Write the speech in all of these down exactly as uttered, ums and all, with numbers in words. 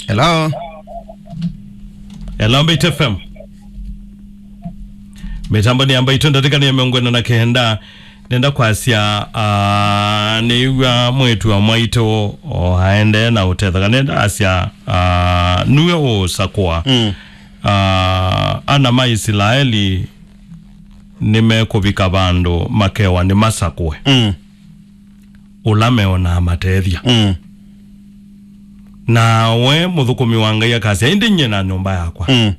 Hello. Hello, Mbaitu F M. Mĩtambo nĩ ya Mbaitu, ndatĩka nĩ ya mĩongo ĩna na kenda. Nenda kwasya, ah, nĩw'a mwĩĩtu wa mwaitũ o aendee na ũtetheka. Nenda asya, ah, nue ũũsakũa. Mm. Ah, ana ma Isilaeli nĩmekũvika vandũ makewa nĩmasakũe. Mm. Ũla meonaa matethya. Mm. Na we mũthũkũmi wa Ngai akasya, "Ĩndĩ nyie na nyũmba yakwa, mm,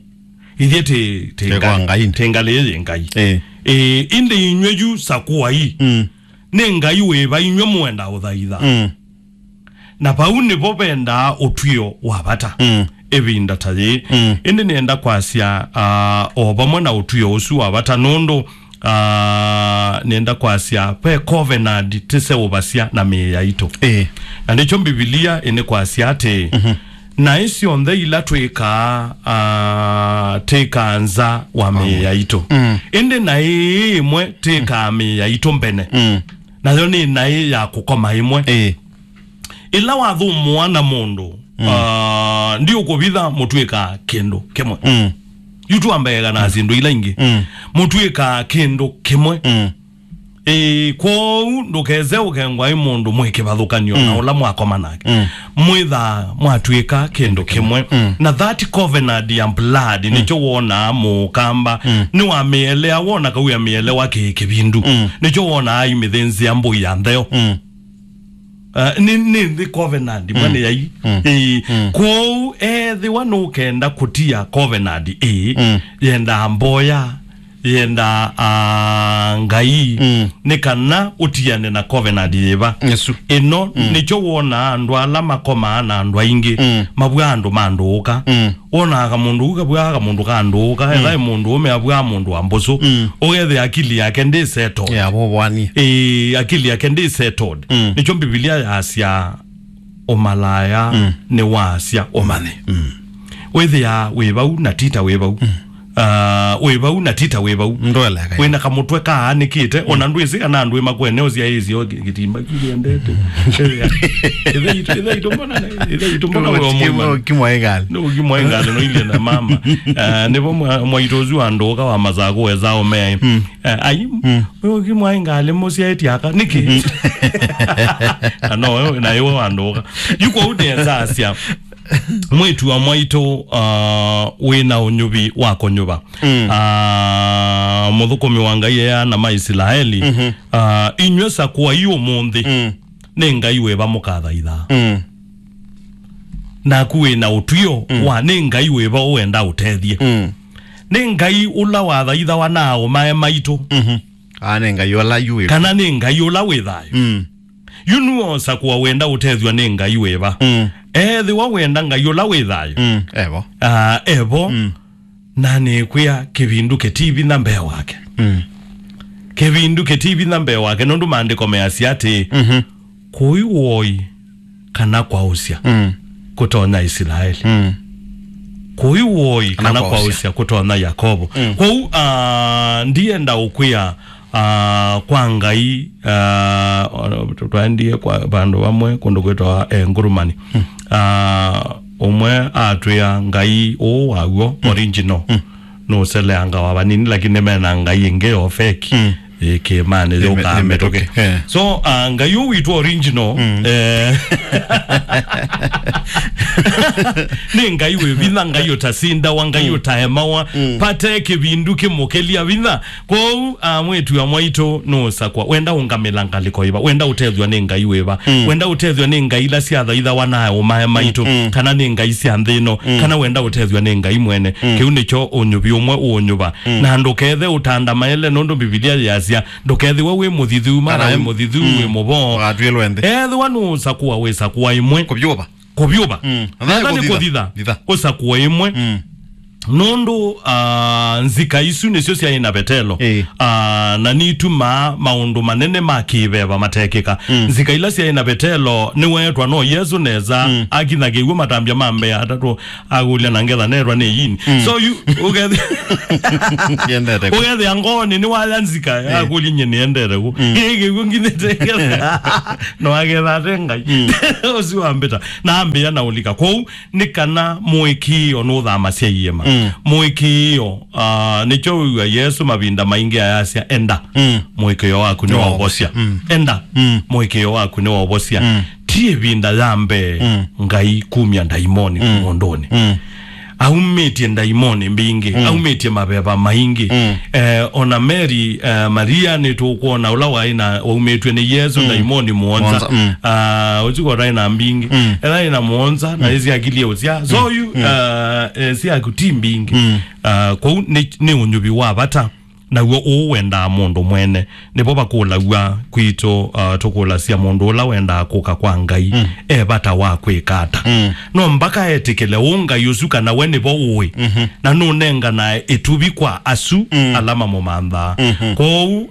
ithyĩ tĩ, tĩ, tĩ kwa Ngai, Ngai, tĩ ngalĩ yĩ Ngai." Ĩĩ. Ĩĩ, ĩndĩ inyw'ĩ yu sakũai. Mm. Nĩ Ngai wĩva inyw'ĩ mũenda ũthaitha? Mm. Na vau nĩvo vendaa ũtw'ĩo wa vata. Mm. Ĩvinda ta yĩĩ. Mm. Ĩndĩ nĩenda kwasya, ah, o vamwe na ũtw'ĩo ũsu wa vata, nũndũ, ah, nĩenda kwasya ve covenant tĩseũvasya na mĩĩ yaitũ. Ĩĩ. Na nĩkyo Mbivilia ĩnĩkwasya atĩ, mhm, naĩ syonthe ila twĩkaa, ah, twĩkaa nza wa mĩĩ yaitũ. Mm. Ĩndĩ naĩ ĩmwe twĩkaa mĩĩ yaitũ mbene. Mm. Nayo nĩ naĩ ya kũkoma ĩmwe. Ĩĩ. Ĩla wathũmũa na mũndũ, mm, ah, ndiũkũvitha mũtw'ĩka kĩndũ kĩmwe. Mm. Yu twambeeka na, mm, syĩndũ ila ingĩ. Mm. Mũtw'ĩka kĩndũ kĩmwe. Mm. Ĩĩ, kwoou ndũkese ũkengwa ĩ mũndũ mwĩ kĩvathũkany'o na, mm, ũla mwakoma nake. Mm. Mwĩthaa mwatw'ĩka kĩndũ kĩmwe. Mm. Na that covenant ya blood, mm, nĩkyo wonaa mũkamba, mm, nĩwamĩelea, wona kau amĩelewa kĩ kĩvindu. Mm. Nĩkyo wonaa aimĩthĩnzĩa mbũi ya ntheo. Mm. Uh, nĩ, nĩ nthĩ covenant, mm, mwana yai. Mm. Ĩĩ. Mm. Kwoou ethĩwa nũkenda kũtia covenant ĩĩ, mm, yendaa mboya, yendaa, ah, Ngai, mm, nĩ kana ũtiane na covenant yĩva. Yesu. Ĩno, mm, nĩkyo wonaa andũ ala makomaa na andũ aingĩ, mm, mavw'a andũ ma ndũũka. Mm. Wonaa kamũndũ ũu kavw'aa kamũndũ ka ndũũka, mm, ethĩwa nĩ mũndũ ũme avw'aa mũndũ wa mbũsũ, mm, ũkethĩa akili yake ndĩ settled. Yeah, vovwani. Ĩĩ, akili yake ndĩ settled. Mm. Nĩkyo Mbivilia yasya, ũmalaya, mm, nĩ wasya ũmanye. Mm. Wĩthĩa wĩ vau na tita wĩ vau. Mm. Ah, wĩ vau na tita wĩ vau. Ndweleka. Wĩna kamũtwe kaanĩkĩte, mm, ona ndwĩsĩ kana andũ ĩmakwene ũsyaĩĩsyo kĩtimba kĩendete. Ĩthe itũ, ĩthe itũ mbona, ĩthe itũ mbona wĩ mũimani? Kimwaĩngalĩ. Nĩ ũkimwaĩngalĩ noilie na mama. Ah, nĩvo mwa-, mwaitũ ũsu wa ndũũka wa Masakũ wesa ũmea. Mm. Eh, ai, mm, ũyũ ũkimwaĩngalĩ mũsyaĩtye aka nĩkĩ? Na no, na iwe wa ndũũka. Yu kwoou nĩesa asya, mwĩĩtu wa mwaitũ, ah, wĩna ũnyuvi wa kũnyuva. Mm. Ah, mũthũkũmi wa Ngai eana ma Isilaeli, mhm, ah, inyw'ĩ sakũai ũmũnthĩ, mm, nĩ Ngai wĩva mũkathaithaa? Mm. Naku wĩna ũtw'ĩo, mm, wa nĩ Ngai wĩva ũenda ũtethye? Mm. Nĩ Ngai ũla wathaithawa na aũmae maitũ? Mhm. Aa, nĩ Ngai ũla yu wĩ. Kana nĩ Ngai ũla wĩ thayũ? Mm. Yu nũũsakũa wenda ũtethw'a nĩ Ngai wĩva? Mm. Ethĩwa wenda Ngai ũla wĩ thayũ, mm, evo. Ah, evo. Mm. Na nĩkwĩa kĩvindu kĩti vinya mbee wake. Mm. Kĩvindu kĩti vinya mbee wake, nũndũ maandĩko measya atĩĩ, mhm, kũi woi kana kwaũsya, mm, kũtonya Isilaeli. Mm. Kũi woi kana kwaũsya, kwaũsya kũtonya Yakovo. Mm. Kwoou, ah, ndienda ũkwĩa, ah, kwa Ngai, ah, twaendie kwa vandũ vamwe kũndũ kwĩtawa, eh, Ngurumani. Mm. Ah, ũmwe atwĩa Ngai ũũ waw'o, mm, original, mm, nũseleangawa vanini, lakini mena ngai ĩngĩ yo feki. Mm. Ĩ kĩĩmanĩ. Ĩ me-, yũkaa ĩ mĩtũkĩ. Mĩtũkĩ. Eh. So, ah, Ngai ũũ witũ original, mm, eh, nĩ Ngai wĩ vinya, Ngai ũtasindawa, Ngai, mm, ũtaemawa, mm, vate kĩvindu kĩmũkĩlya vinya. Kwoou, ah, mwĩĩtu wa mwaitũ nũũsakwa. Wenda ũngamĩla ngalĩko ĩva? Wenda ũtethw'a nĩ Ngai wĩva? Mm. Wenda ũtethw'a nĩ ngai ila syathaithawa na aũmae maitũ, mm, mm, kana nĩ ngai sya nthĩ ĩno, mm, kana wenda ũtethw'a nĩ Ngai mwene? Mm. Kĩu nĩkyo ũnyuvi ũmwe ũũnyuva. Mm. Na ndũkethe ũtandamaele, nũndũ Mbivilia yĩasya, ndũkethĩwe wĩ mũthithu, mara kana wĩ mũthithu, mm, wĩ mũvoo. Ũgatw'ĩlwe nthĩ. Ethĩwa nũũsakũa, wĩsakũa ĩmwe. Kũvyũva. Kũvyũva. Mm. Ethĩwa nĩ kũthitha, kũthitha, thitha. Ũsakũe ĩmwe. Mm. Nũndũ, ah, nzika isu nĩsyo syaĩ na Vetelo. Ĩĩ. Ah, na nitumaa maũndũ manene ma kĩveva matekĩka. Mm. Nzika ila syaĩ na Vetelo nĩweetwa no Yesũ nesa, mm, akinya kĩw'ũ matambya ma mbee atatũ akũlya na ngetha netwa nĩ yini. Mm. So you, ũkethĩa, Yendete kũ? Ũkethĩa ngoonĩ nĩwaya nzika, ĩĩ, akũlya nye nĩendete kũ? Mm. Ĩ kĩw'ũ nginyĩte ngetha. No agetha ate Ngai. Mm. Ũsu wambĩta. Na ambĩa na ũlika. Kwoou, nĩ kana mũĩkĩĩo nũthamasya iĩma. Mm. Mũĩkĩĩo, ah, nĩkyo wĩw'a Yesũ mavinda maingĩ ayasya, "Enda, mm, mũĩkĩĩo waku nĩwaũvosya." Mm. "Enda, mm, mũĩkĩĩo waku nĩwaũvosya." Mm. Ti ĩvinda ya mbee, mm, Ngai kumya ndaimoni, mm, mũndũnĩ. Mm. Aumĩtye ndaimoni mbingĩ, mm, aumĩtye maveva maingĩ. Mm. Eh, ona Mary, eh, Maria nĩtũkwona ũla waĩ na, waumĩtw'e nĩ Yesũ, mm, ndaimoni mũonza. Mũonza, mm. Ah, ũsu ko ndaĩ na mbingĩ. Mm. Ela ĩna mũonza, na, mm, ĩsyakilie ũsya. So, mm, yu, mm, ah, eh, syaku ti mbingĩ. Mm. Ah, kwoou nĩ, nĩ ũnyuvi wa vata. Naw'o ũũ wendaa mũndũ mwene. Nĩvo vakũlaw'a kwitũ, ah, tũkũlasya mũndũ ũla wendaa kũka kwa Ngai, mm, e vata wa kwĩka ata? Mm. No mbaka etĩkĩle ũũ Ngai ũsu kana we nĩvo ũĩ, mhm, na nũnenganae ĩtuvi kwa asu, mm, ala mamũmanthaa. Mhm. Kwoou,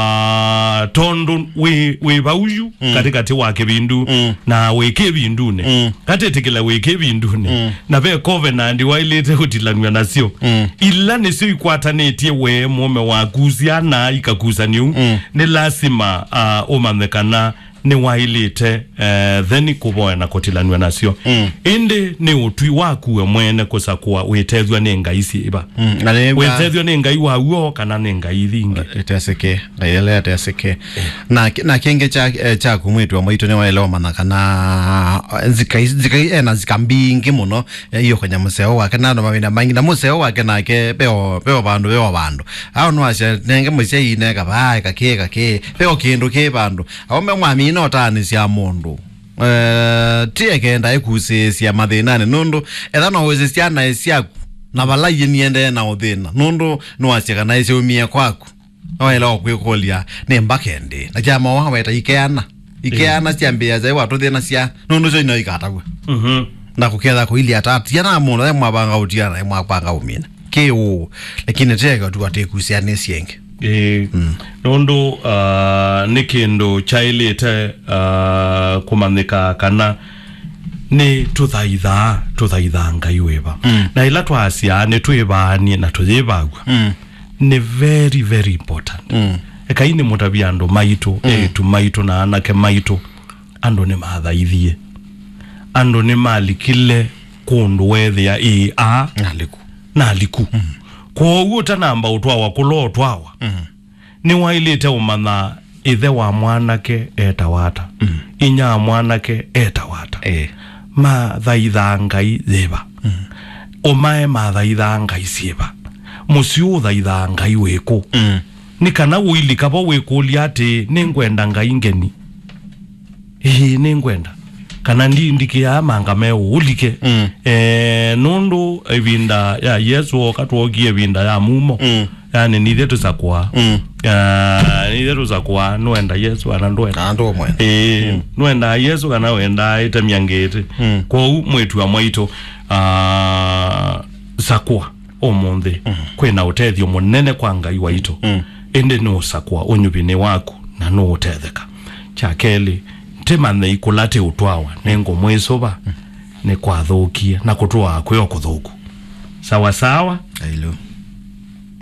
ah, tondũ wĩ, wĩ vau yu, mm, katĩkatĩ wa kĩvindu, mm, na wĩ kĩvindunĩ, mm, katĩtĩkĩle wĩ kĩvindunĩ, mm, na ve covenant waĩlĩte kũtilanw'a nasyo. Mm. Ila nĩsyo ikwatanĩtye we mũũme waku, syana ikakusanĩu. Mm. Nĩ lasima, ah, ũmanye kana nĩwaĩlĩte, eh, then kũvoya na kũtilanw'a nasyo. Mm. Ĩndĩ nĩ ũtwi waku we mwene kũsakũa wĩtethw'a nĩ ngai syĩva. Mm. Na nĩ wĩtethw'a nĩ Ngai wa w'o kana nĩ ngai ithi ingĩ. Ĩtesĩke, ngai ĩla ĩtesĩke. Eh. Na, na kĩngĩ kya, eh, kyaku mwĩĩtu wa mwaitũ nĩwaĩle ũmanya kana, eh, nzika, nzika ena nzika mbingĩ mũno. Eh, ĩũkany'a mũseo wake na andũ mavinda maingĩ, na mũseo wake nake veo, veo vandũ, veo vandũ. Ao nĩwasya, nenge mũsyai neka vaa, eka kĩ, eka kĩ, veo kĩndũ kĩ vandũ. Aũme mwamina ũtaanĩsya mũndũ. Eh, ti ekenda ĩkusĩĩsya mathĩnanĩ, nũndũ etha no wĩsĩ syana syaku, na vala iĩ niendee na ũthĩna, nũndũ nĩwasya kana ĩsyaumie kwaku. Waĩle o kwĩkũlya, nĩ mbaka ĩndĩ? Na kya mawa weta ikeana. Ikeana syambĩĩa zaĩ watũthĩnasya, nũndũ syo ino ikatavw'a. Mhm. Na kũketha kũilyĩ ata, tiana mũndũ, e mwavanga ũtiana, e mwavanga ũmina. Kĩ ũũ, lakini teke tu atĩkusyanĩsye ĩngĩ. Ĩĩ. Mm. Nũndũ, ah, nĩ kĩndũ kyaĩlĩte, ah, kũmanyĩka kana nĩ tũthaithaa, tũthaithaa Ngai wĩva. Mm. Na ĩla twasya nĩ twĩvaanie na tũyĩvaw'a. Mm. Nĩ very, very important. Mm. Ekai nĩ mũtavya andũ maitũ, mm, eĩtu maitũ na anake maitũ, andũ nĩmathaithie. Andũ nĩmalikile kũndũ weethĩa ĩĩ aa naliku. Naliku. Mm. Kwoou ũtanamba ũtwawa kũla ũtwawa, mm, nĩwaĩlĩte ũmanya ĩthe wa mwanake etawa ata, mm, inya wa mwanake etawa ata. Eh. Mathaithaa ngai yĩva? Mm. Ũmae mathaithaa ngai syĩva? Mũsyĩ ũthaithaa ngai wĩkũ? Mm. Nĩ kana ũilika vo wĩkũlya atĩĩ, "Nĩngwenda ngai ngeni? Ĩĩ, nĩngwenda. Kana ndi-, ndikĩaa manga meũ, ũlike." Mm. Eh, nũndũ ĩvinda ya Yesũ oka, twookie ĩvinda ya mumo. Mm. Yani, nithe tũsakũa. Mm. Ah, nithe tũsakũa, nũenda Yesũ kana ndũenda. Kana ndũmwenda. Ĩĩ, mm, nũendaa Yesũ kana wendaa ĩtemya ngĩtĩ. Mm. Kwoou mwĩĩtu wa mwaitũ, ah, sakũa ũmũnthĩ. Mm. Kwĩna ũtethyo mũnene kwa Ngai waitũ. Mm. Ĩndĩ nũũsakũa ũnyuvi nĩ waku na nũũtetheka. Kya kelĩ, tĩmanyei kũla tĩũtwawa, nĩngũmwĩsũva, mm, nĩkwathũkie, na kũtũaa kwĩo kũthũku. Sawa sawa? Ailu.